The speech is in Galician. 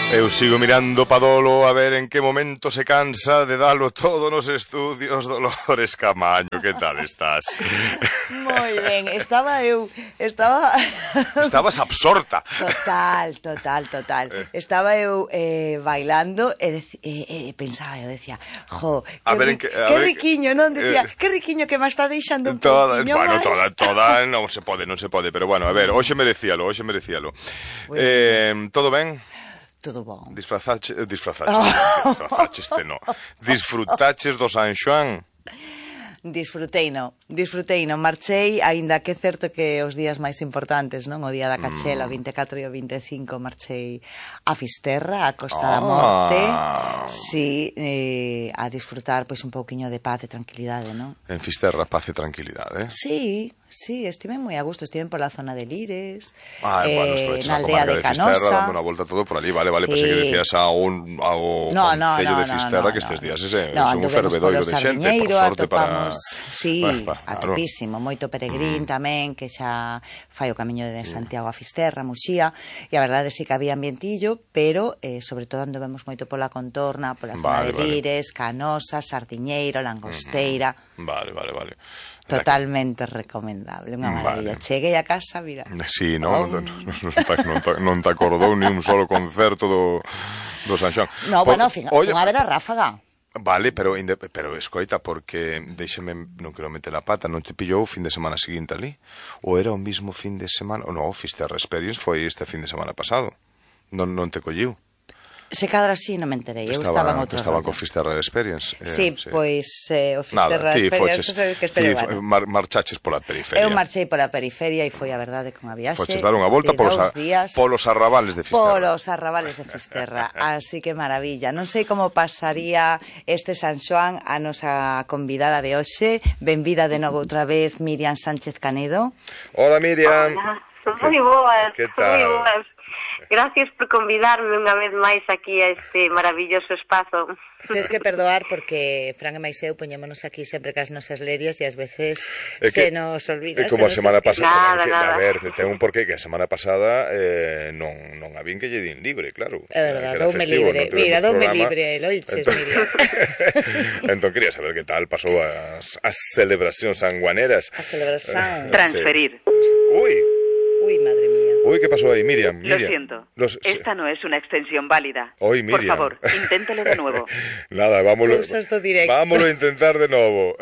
Eu sigo mirando pa Dolo a ver en que momento se cansa de dalo todo nos estudios. Dolores Camaño, que tal estás? Moi ben, Estabas absorta. Total. Estaba eu bailando e pensaba, eu decía, jo, que riquiño, non? Decía, que riquiño que me está deixando un pouquiño máis. Bueno, toda non se pode, pero bueno, a ver, hoxe merecíalo. Pues, todo ben? Todo bon. Disfrazaches Disfrutaches do San Xoán? Disfruteino, marchei, aínda que é certo que os días máis importantes, non? O día da Cachela, o 24 e o 25, marchei a Fisterra, a Costa da Morte, sí, a disfrutar pois un pouquiño de paz e tranquilidade, non? En Fisterra, paz e tranquilidade, Sí, estive moi a gusto, estive pola zona de Lires, bueno, na aldea de Canosa. Fisterra, dando unha volta todo por ali, vale, sí. pensei que decías ao Concello de Fisterra, que estes días é un fervedoiro de xente, por sorte para... Sí, atopísimo, moito peregrín tamén, que xa fai o camiño de Santiago a Fisterra, Muxía, e a verdade sí que había ambientillo, pero sobre todo andovemos moito pola contorna, pola zona de Lires, Canosa, Sardiñeiro, Langosteira. Vale. Totalmente recomendable, unha maravilla. Cheguei a casa, mira. Sí, non te acordou ni un solo concerto do San Xoán. No, bueno, fun a ver a Ráfaga. Vale, pero escoita, porque non quero meter a pata, non te pillou o fin de semana seguinte ali? Ou era o mismo fin de semana? Ou non, Fisterra Experience foi este fin de semana pasado. Non te colliu? Se cadra así non me enterei, eu estaba en outro rollo. Estaba con Fisterra Experience. Sí, pois o Fisterra Experience que esperaba. Marchaches pola periferia. Eu marchei pola periferia e foi a verdade con a viaxe. Foches dar unha volta polos arrabales de Fisterra. Así que maravilla. Non sei como pasaría este San Xoán a nosa convidada de hoxe. Benvida de novo outra vez Miriam Sánchez Canedo. Hola, Miriam. Hola, moi boas. Que tal? Moi boas. Gracias por convidarme unha vez máis aquí a este maravilloso espazo. Tens que perdoar porque Fran e máis eu poñémonos aquí sempre cas nosas lerias e ás veces se nos olvida. É como a semana pasada. Nada. A ver, ten un porqué que a semana pasada non habín que lle din libre, claro. É verdade, doume libre. Mira, doume libre, loiches, Miriam. Entón quería saber que tal pasou as celebracións sanguaneras. A celebración. Transferir. Uy, madre mía. Uy, ¿qué pasó ahí, Miriam? Lo siento, esta no es una extensión válida. Hoy, Miriam. Por favor, inténtelo de nuevo. Nada, vámonos a intentar de nuevo.